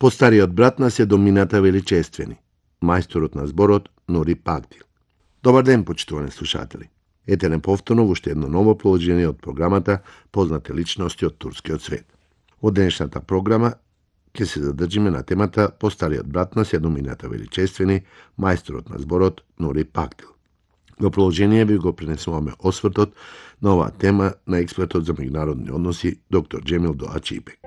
Постариот брат на Седомината величествени, мајсторот на зборот Нури Пагдил. Добар ден, почитувани слушатели. Ете неповторно во уште едно ново положение од програмата Познати личности од турскиот свет. Од денешната програма ќе се задржиме на темата Постариот брат на Седомината величествени, мајсторот на зборот Нури Пагдил. Во продолжение ви го пренесуваме освртот на оваа тема на експертот за меѓународни односи доктор Џемил Доач Ипек.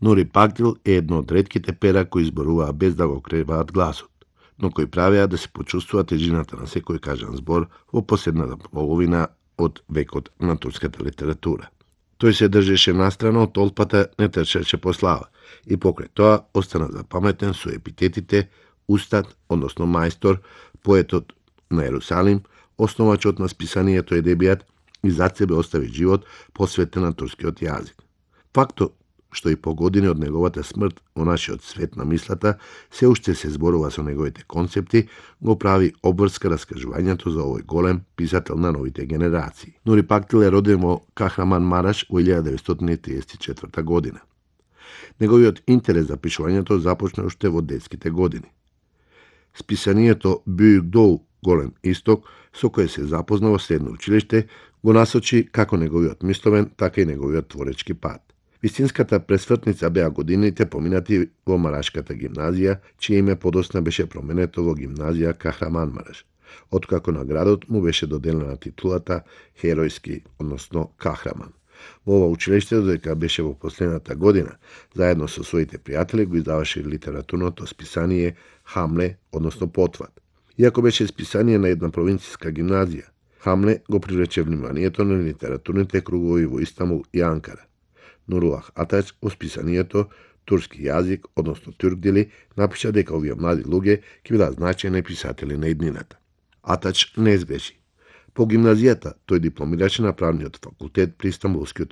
Нури Пагдил е едно од ретките пера кои зборуваа без да го креваат гласот, но кои правеа да се почувствува тежината на секој кажан збор во последната половина од векот на турската литература. Тој се држеше настрано од толпата, не трчеше по слава и покрај тоа остана запаметен со епитетите устат, односно мајстор, поетот на Ерусалим, основачот на списанието Едебијат и зад себе остави живот посветен на турскиот јазик. Фактот што и по години од неговата смрт во нашиот свет на мислата се уште се зборува со неговите концепти, го прави обврска раскажувањето за овој голем писател на новите генерации. Нури Пагдил е роден во Кахраманмараш во 1934 година. Неговиот интерес за пишувањето започна уште во детските години. Списанието Бюйгдоу, Голем исток, со кој се запозна во средно училиште, го насочи како неговиот мисловен, така и неговиот творечки пат. Вистинската пресвртница беа годините поминати во Марашката гимназија, чие име подосна беше променето во гимназија Кахраманмараш, откако на градот му беше доделена титулата Херојски, односно Кахраман. Во ова училиште, додека беше во последната година, заедно со своите пријатели го издаваше литературното списание Хамле, односно Потват. Иако беше списание на една провинцијска гимназија, Хамле го привлече вниманието на литературните кругови во Истанбул и Анкара. Нурулах Атач во списанието Турски јазик, односно Тюркдили, напиша дека овие млади луѓе ќе бидат значајни писатели на иднината. Атач не сгреши. По гимназијата тој дипломираше на правниот факултет при Истанбулскиот